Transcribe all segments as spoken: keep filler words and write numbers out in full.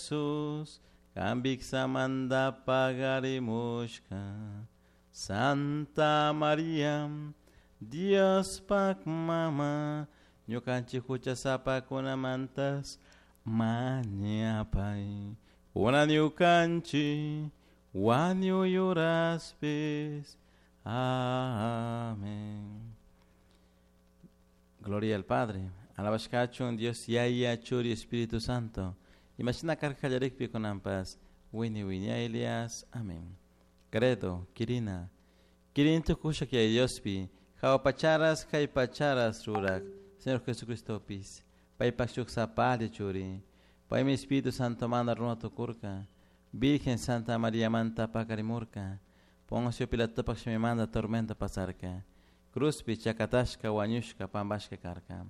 Jesús, Kambiksamanta pagarimushka. Santa Maria, Diospak mama, ñukanchik huchasapakunamantas mañapay. Kunan ñukanchik wañuy uraspis. Amén. Gloria al Padre. Alabashkachun Dios Yaya Churi Espíritu Santo. Imashina karka kallarikpi kunanpas wini wiñaylias. Amén. Credo, Kirina. Kirin tukushak Yaya Diospi. Jahua pacharas, kay pacharas rurak. Señor Jesucristopis. Paypak shuk sapalla churi. Paymi Espíritu Santo manda runa tukurka. Virgen Santa María manta pakarimurka. Poncio Pilatopak shimimanta tormento pasarka. Cruzpi chakatashka wañushka pampashka karka.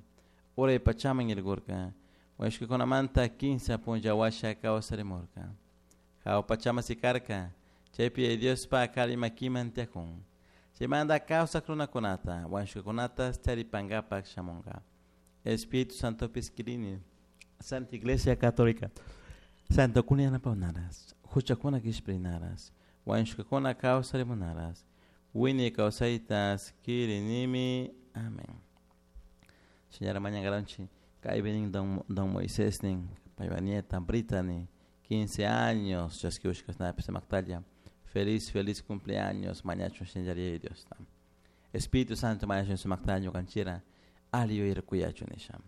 Uray pachaman yaykurka. Wañushkakunamanta kinsa punlla washa kawsarimurka. Jahua pachaman sikarka. Chaypi Yaya Diospak alli makiman tiyakun. Chaymanta kawsak runakunata, wañushkakunata taripankapak shamunka. Espíritu Santopis kirini. Santa Iglesia Católica. Santokuna yanapawnaras. Huchakuna kishpirinaras. Wañushkakuna kawsarimunaras. Wiñay kawsaytas kirinimi. Amén. Señora mañankaranchik, kaypi nin don, don Moisés nin, paypa nieta Brittany, quince años, chaskiushkasnapis sumaqtalla. Feliz, feliz cumpleaños, mañachun shinllaria Dios. Espíritu Santo mañachun sumaqtalla ñukanchira, alli yuyarkuyachun nisha.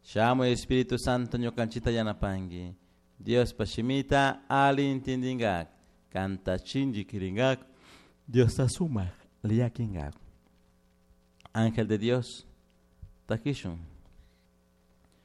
Shamuy Espíritu Santo ñukanchita yanapanki. Diospa shimita alli intindingak, kanta shinchi kiringak, Diosta sumak llakinkak. Ángel de Dios, takishun.